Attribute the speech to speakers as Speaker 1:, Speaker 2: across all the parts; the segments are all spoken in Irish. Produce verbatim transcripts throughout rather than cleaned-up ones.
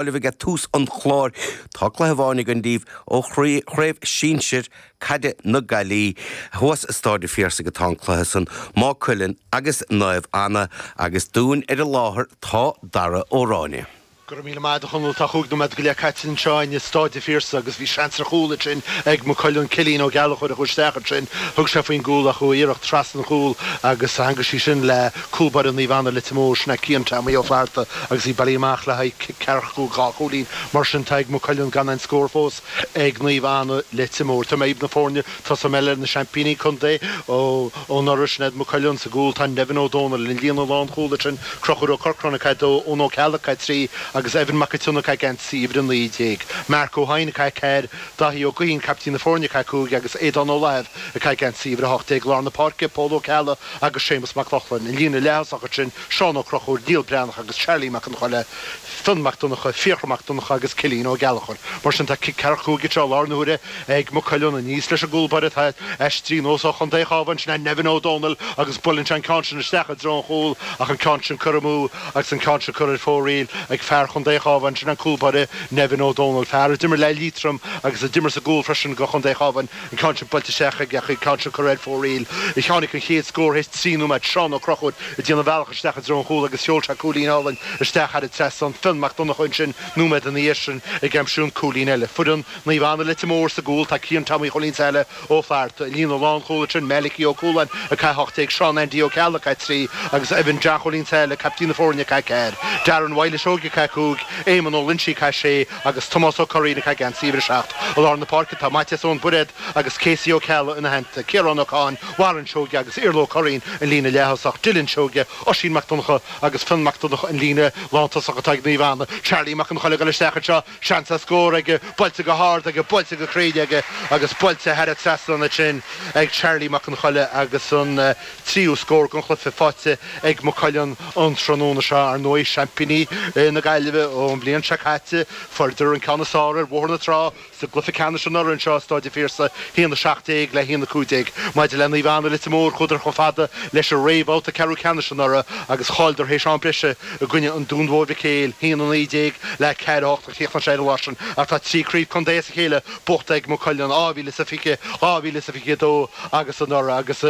Speaker 1: Libh ag tús an chláir tá cluiche amháin againn daoibh ó chraobh sinsir caide na Gaillimhe thuas i Staid an Phiarsaigh atá an cluiche san Maigh Cuilinn agus Naomh Anna agus dúinn ar an láthair tá Dara Ó Ráinne.
Speaker 2: Go raibh míle maith agat a Chonaill tá cúig nóiméad go leith caite anseo i Staid an Phiarsaigh agus bhí seans ar chúl ansin ag Maigh Cuilinn Cillian Ó Gallchóir a chuaigh isteach ansin thug sé faoin gcúl ach chuaigh iarracht trasna an chúl agus tháinig sí sin le cúl báire Naomh Anna Leitir Móir sin é Cian Tommy Ó Flatharta agus í bailithe amach le haghaidh cic ceathracha dhá chúilín mar sin tá ag Maigh Cuilinn gan aon scór fós ag Naomh Anna Leitir Móir. Tá mé na foirne tosóidh mé le na seaimpíní contae ó anuraidh sin iad Maigh Cuilinn sa gcúl tá Nevin Ó Dónaill an líne lánchúil sin Conchúr Ó Corcráin ag caitheamh dó Eoin Ó Ceallaigh ag trí agus Evan Mac Tionnac ag geansaí uimhir a naoi déag. Mark Ó hEidhin ag ceathair, Daithí Ó Guithín caiptín na foirne ag cúig agus Aodán Ó Laithimh ag geansaí uimhir a hocht déag lár na páirce, Pól Ó Ceallaigh agus Séamus Mac Lochlainn. An líne leath-thosach sin Seán Ó Conchúir, Niall Breathnach agus Charlie Mac an Choille, Fionn Mac Donncha, Fiachra Mac Donncha agus Cillian Ó Gallchóir. Mar sin tá cic ceathracha cúig anseo lár na huaire ag Maigh Cuilinn aníos leis an gcúl báire atá aistrithe anuas ó Chontae an Chabháin sin Nevin Ó Dónaill agus buaileann sé an ceann sin isteach i dtreo an chúil ach an ceann sin curtha amú agus an ceann sin curtha ar fóraoil ag fear Chontae an Chabháin sin an cúl báire Nevin Ó Dónaill fear a d'imir le Liatroim agus a d'imir sa gcúl freisin go Chontae an Chabháin an ceann sin buailte isteach ag an ceann sin curtha ar fóraoil. Tháinig an chéad scór théis trí nóiméad Seán Ó Conchúir ag déanamh a bhealach isteach i dtreo an chúil agus sheol sé cúilín álainn isteach thar an trasnán Fionn Mac Donncha ansin nóiméad ina dhiaidh sin ag aimsiú an cúilín eile. Foireann Naomh Anna Leitir Móir sa gcúl tá Cian Tommy Chóilín Saile Ó Flatharta líne lánchúil sin Malachy Ó Cualáin ag hocht déag Seán Andy Ó Ceallaigh ag trí agus Evan John Chóilín Saile caiptín na foirne ag ceathair. Darren Wiley Seoige ag cúig, Éamon Ó Loinsigh ag sé agus Tomás Ó Curraoin ag geansaí uimhir a seacht. I lár na páirce tá Maitias Ón Buiréad agus Casey Ó Ceallaigh ina theannta, Ciarán Ó Cadhain, Warren Seoige agus Iarla Ó Curraoin an líne leath-thosach, Dylan Seoige, Oisín Mac Donncha agus Fionn Mac Donncha an líne lántosach atá ag Naomh Anna. Charlie Mac an Choille go isteach anseo seans ar scór aige buailte go hard aige buailte go cruinn aige agus buailte thar an trasnán sin ag Charlie Mac an Choille agus an uh, tríú scór den chluiche faighte ag Maigh Cuilinn an tráthnóna seo ar ndóigh seaimpíní na Gaillimhe ón bhliain seo caite fuaireadar an ceann is fearr ar Bhóthar na Trá sa gcluiche ceannais anuraidh anseo Staid an Phiarsaigh haon a seacht déag le haon a cúig déag. Maidir le Naomh Anna Leitir Móir chuadar chomh fada leis an réamhbhabhta ceathrú ceannais anuraidh agus chailleadar théis am breise i gcoinne an Dún Mhóir Mhic Éil haon a naoi déag le ceathair a hocht a chríochnaigh sé ar an lá sin ach tá trí chraobh contae as a chéile buaite ag Maigh Cuilinn dhá mhíle is a fiche dhá mhíle is a fiche dó agus anuraidh agus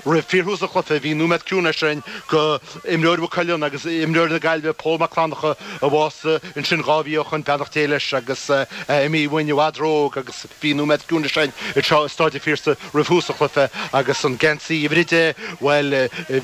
Speaker 2: roimh fíorthús an chluiche bhí nóiméad ciúnais ann go imreoir Mhaigh Cuilinn agus imreoir na Gaillimhe Pól Mac Fhlannchadha a bhásaigh ansin dhá mhí ó shin beannacht Dé leis agus imithe uainn i bhfad ró-óg agus bhí nóiméad ciúnais ann anseo i Staid an Phiarsaigh roimh thús an chluiche agus an geansaí uimhir a deich bhuel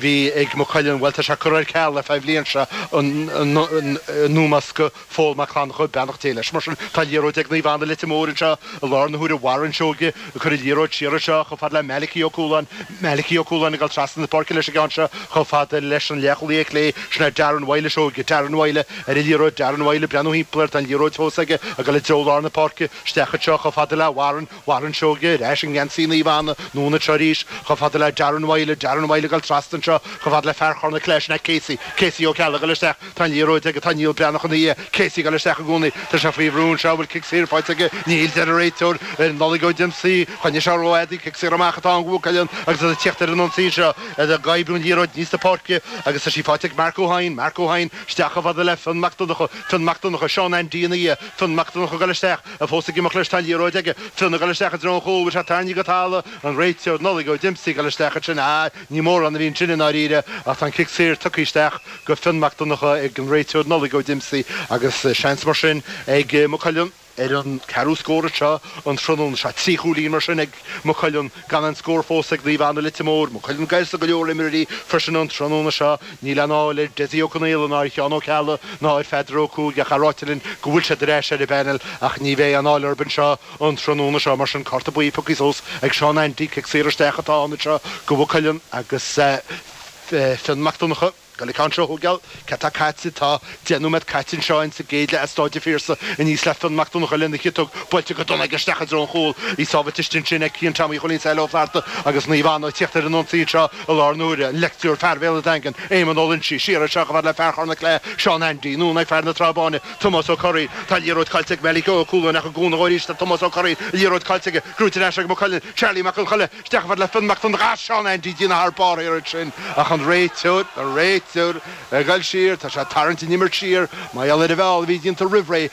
Speaker 2: bhí ag Maigh Cuilinn bhuel tá sé curtha ar ceal le feadh bliain seo in ómós go Phól Mac Fhlannchadha beannacht Dé leis mar sin tá liathróid ag Naomh Anna Leitir Móir anseo i lár na huaire Warren Seoige ag cur an liathróid siar anseo chomh fada le Malachy Ó Cualáin Malachy Ó Cualáin ag dul trasna na páirce leis an gceann seo chomh fada leis an leathchúlaí clé sin é Darren Wiley Seoige Darren Wiley ar an liathróid Darren Wiley breathnú timpeall air tá an liathróid fós aige ag dul i dtreo lár na páirce isteach anseo chomh fada le Warren Warren Seoige ar ais an geansaí Naomh Anna anonn anseo arís chomh fada le Darren Wiley Darren Wiley ag dul trasna anseo chomh fada le fear Chorna Clé sin é Casey Casey Ó Ceallaigh ag dul isteach tá an liathróid aige tá Niall Breathnach ina dhiaidh Casey ag dul isteach i gcónaí tá sé faoi bhrú anseo bhfuil cic saor faighte aige níl deir an réiteoir Nollaig Ó Dempsey choinnigh sé rófhada cic saor amach atá an Mhaigh Cuilinn agus ag tíocht ar an ionsaí seo ag oibriú an liathróid níos na páirce agus tá sí faighte ag Mark Ó hEidhin Mark Ó hEidhin isteach chomh fada le Fionn Mac Donncha Fionn Mac Donncha Seán Andy ina dhiaidh Fionn Mac Donncha ag dul isteach a fós ag imeacht leis tá an liathróid aige Fionn ag dul isteach i dtreo an chúil sé tarraingthe go talamh an réiteoir Nollaig Ó Dempsey ag dul isteach ansin á ní mórán a bhí ansin i ndáiríre ach tá an cic saor tugtha isteach go Fionn Mac Donncha ag an réiteoir Nollaig Ó Dempsey agus seans mar sin ag Maigh Cuilinn ar an ceathrú scór seo an tráthnóna seo trí chúilín mar sin ag Maigh Cuilinn gan an scór fós ag Naomh Anna Leitir Móir, Maigh Cuilinn gairsa go leor imreoirí freisin an tráthnóna seo níl anáil ar Dessie Ó Conaola ná ar Sheán Ó Ceallaigh ná ar Pheadar Ó Cuaig ach ráite linn go bhfuil siad ar ais ar an bpanel ach ní bheidh anáil orthu anseo an tráthnóna seo mar sin cárta buí pioctha suas ag Seán Andy cic saor isteach atá ann seo go Mhaigh Cuilinn agus Fionn Mac Donncha. Go le ceann seo thógáil cé tá caite tá deich nóiméad caite anseo in sa gcéad leath i Staid an Phiarsaigh aníos le Fionn Mac Donncha lena chiotóg buailte go dona aige isteach i dtreo an chúil í sábháilte ansin ag Cian Tommy Chóilín Saile Ó Flatharta agus Naomh Anna ag tíocht ar an ionsaí anseo i lár na huaire an lectúr fear Bhéal an Daingin Éamon Ó Loinsigh siar anseo chomh fada le fear Chorna Clé Seán Andy anonn ag fear na Trá Báine Tomás Ó Curraoin tá liathróid caillte ag Malachy Ó Cualáin ach i gcónaí arís tá Tomás Ó Curraoin liathróid caillte aige gnóthaithe ar ais ag Maigh Cuilinn Charlie Mac an Choille isteach fad le Fionn Mac Donncha Seán Andy déanamh thar barr ar sin ach an réiteoir an réiteoir Ag dul siar tá sé tarraingt an imirt siar mar gheall ar an bhfeall a bhí déanta roimh ré.